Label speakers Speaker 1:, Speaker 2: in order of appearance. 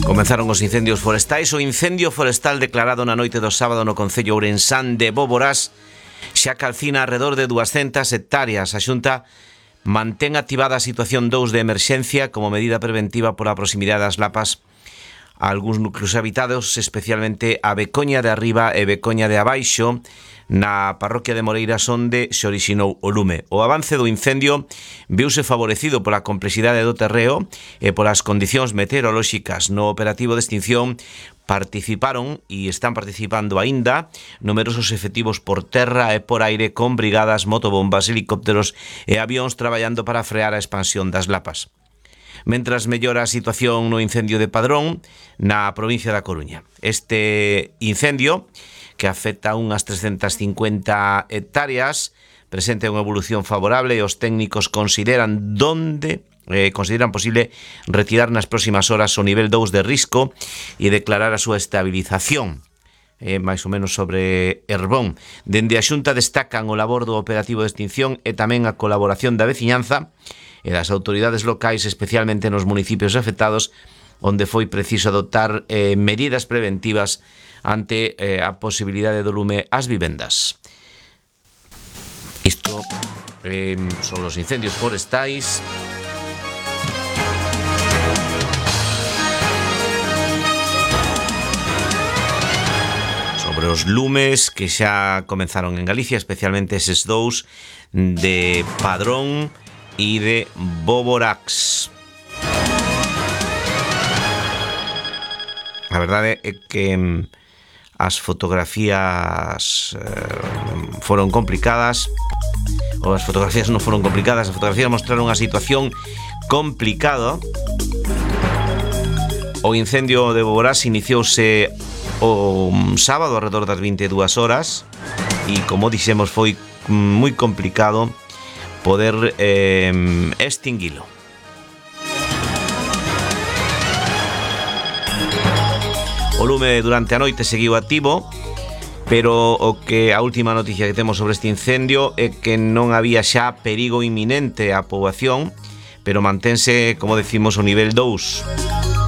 Speaker 1: Comenzaron os incendios forestais. O incendio forestal declarado na noite do sábado no concello ourensán de Boborás xa calcina alrededor de 200 hectáreas. A Xunta mantén activada a situación 2 de emerxencia como medida preventiva pola proximidade das lapas a algúns núcleos habitados, especialmente a Becoña de Arriba e Becoña de Abaixo, na parroquia de Moreiras, onde se orixinou o lume. O avance do incendio viuse favorecido pola complexidade do terreo e polas condicións meteorolóxicas. No operativo de extinción participaron e están participando aínda numerosos efectivos por terra e por aire, con brigadas, motobombas, helicópteros e avións traballando para frear a expansión das lapas. Mentras mellora a situación no incendio de Padrón, na provincia da Coruña. Este incendio, que afecta unhas 350 hectáreas, presenta unha evolución favorable e os técnicos consideran posible retirar nas próximas horas o nivel 2 de risco e declarar a súa estabilización. Mais ou menos sobre Herbón. Dende a Xunta destacan o labor do operativo de extinción e tamén a colaboración da veciñanza e das autoridades locais, especialmente nos municipios afectados, onde foi preciso adoptar medidas preventivas ante a posibilidade do lume ás vivendas. Isto son os incendios forestais. Sobre os lumes que xa comenzaron en Galicia, especialmente eses dous de Padrón e de Boborás. A verdade é que as fotografías foron complicadas, ou as fotografías non foron complicadas, as fotografías mostraron unha situación complicada. O incendio de Boborás iniciouse o sábado alrededor das 22 horas e, como dixemos, foi moi complicado poder extinguilo. O lume durante a noite seguiu activo, pero a última noticia que temos sobre este incendio é que non había xa perigo inminente á poboación, pero mantense, como decimos, o nivel 2.